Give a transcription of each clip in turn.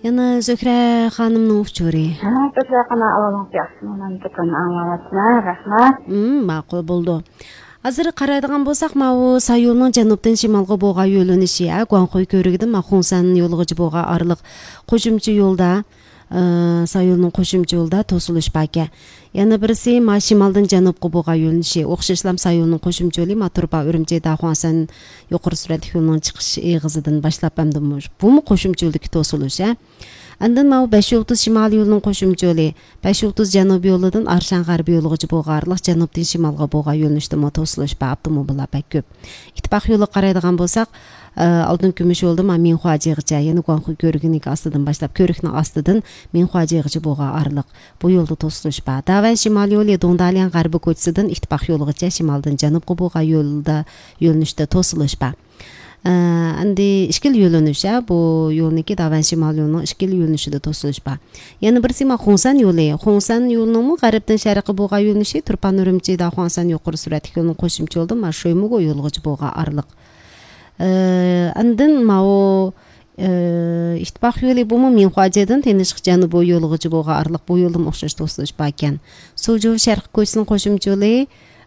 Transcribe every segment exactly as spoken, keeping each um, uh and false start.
يەنە زۆھرە خانىمنىڭ ئۇچۇرى. ھە، زۆھرە خانىم، ئاۋازىڭىز ياخشىمۇ؟ مەن دۇكاننى ئاڭلاۋاتىمەن، رەھمەت. ھىم، ماقۇل بولدى. ھازىر قارايدىغان بولساق، ماۋۇ سايولنىڭ جەنۇبتىن شىمالغا بولغان يۆنىلىشى، ھە، گۇاڭخۇي كۆۋرۈكىدىن ما خۇڭسەن يولىغىچە بولغان ئارىلىق قوشۇمچە يولدا، ئى، سايولنىڭ قوشۇمچە يولىدا توسۇلۇش باركەن. يەنە بىرسى ما شىمالدىن جەنۇبقا بولغان يۆنىلىشى، ئوخشاشلام سايولنىڭ قوشۇمچە يولى ما تۇرپان ئۈرۈمچى داخۇەنسەن يۇقىرى سۈرئەتلىك يولىنىڭ چىقىش ئېغىزىدىن باشلاپ، ئەمدى مۇش-، بۇمۇ قوشۇمچە يولدىكى توسۇلۇش، ھە. ئاندىن ماۋۇ بەش يۇلتۇز شىمالىي يولىنىڭ قوشۇمچە يولى، بەش يۇلتۇز جەنۇبىي يولىدىن ئارشان غەربىي يولىغىچە بولغان ئارىلىق جەنۇبتىن شىمالغا بولغان يۆنىلىشتىمۇ توسۇلۇش بار، ئاپتوموبىللار بەك كۆپ. ئىتتىپاق يولىغا قارايدىغان بولساق، ئە، ئالتۇن كۈمۈش يولدا ما مىنخۇاجىغىچە، يەنى گۇاڭخۇي كۆۋرۈكىنىڭكى ئاستىدىن باشلاپ، كۆۋرۈكنىڭ ئاستىدىن مىنخۇاجىغىچە بولغان ئارىلىق، بۇ يولدا توسۇلۇش بار. داۋەن شىمال يولى دۇڭدالياڭ غەربىي كوچىسىدىن ئىتتىپاق يولىغىچە شىمالدىن جەنۇبقا بولغان يولدا، يۆنىلىشتە توسۇلۇش بار. ئە، ئەمدى ئىككىلا يۆنىلىش، ھە، بۇ يولنىڭكى داۋەن شىمال يولىنىڭ ئىككىلا يۆنىلىشىدە توسۇلۇش بار. يەنە بىرسى ما خۇڭسەن يولى. خۇڭسەن يولىنىڭمۇ غەربتىن شەرققە بولغان يۆنىلىشى تۇرپان ئۈرۈمچى داخۇەنسەن يۇقىرى سۈرئەتلىك يولىنىڭ قوشۇمچە يولىدىن ما شۆيمىگو يولىغىچە بولغان ئارىلىق. ئە، ئاندىن ماۋۇ، ئە، ئىتتىپاق يولى بۇمۇ مىنخۇاجېدىن تىنچلىق جەنۇبى يولىغىچە بولغان ئارىلىق، بۇ يولدىمۇ ئوخشاش توسۇلۇش باركەن. سۇجۇ شەرقىي كوچىسىنىڭ قوشۇمچە يولى،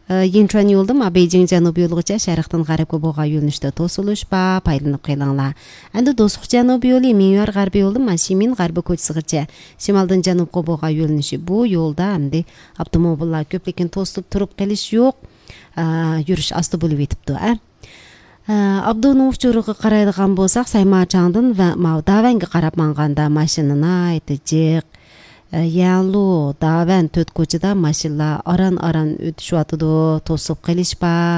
ئە، يىنچۈەن يولىدا ما بېيجىڭ جەنۇبىي يولىغىچە شەرقتىن غەربكە بولغان يۆنىلىشتە توسۇلۇش بار، پايدىلىنىپ قېلىڭلار. ئەمدى دوستلۇق جەنۇبىي يولى مىڭيۈەر غەربىي يولىدا ما شىمىن غەربىي كوچىسىغىچە شىمالدىن جەنۇبقا بولغان يۆنىلىشى. بۇ يولدا ئەمدى ئاپتوموبىللار كۆپ، لېكىن توسۇلۇپ تۇرۇپ قېلىش يوق. ئە، يۈرۈش ئاستا بولۇۋېتىپتۇ، ئە. ئابدۇنىڭ ئۇچۇرىغا قارايدىغان بولساق، سەيماچاڭدىن ۋە ماۋۇ داۋەنگە قاراپ ماڭغاندا ماشىنا ناھايىتى جىق. يەنلۇ، داۋەن تۆت كوچىدا ماشىنىلار ئاران-ئاران ئۆتۈشۈۋاتىدۇ، توسۇپ قېلىش بار.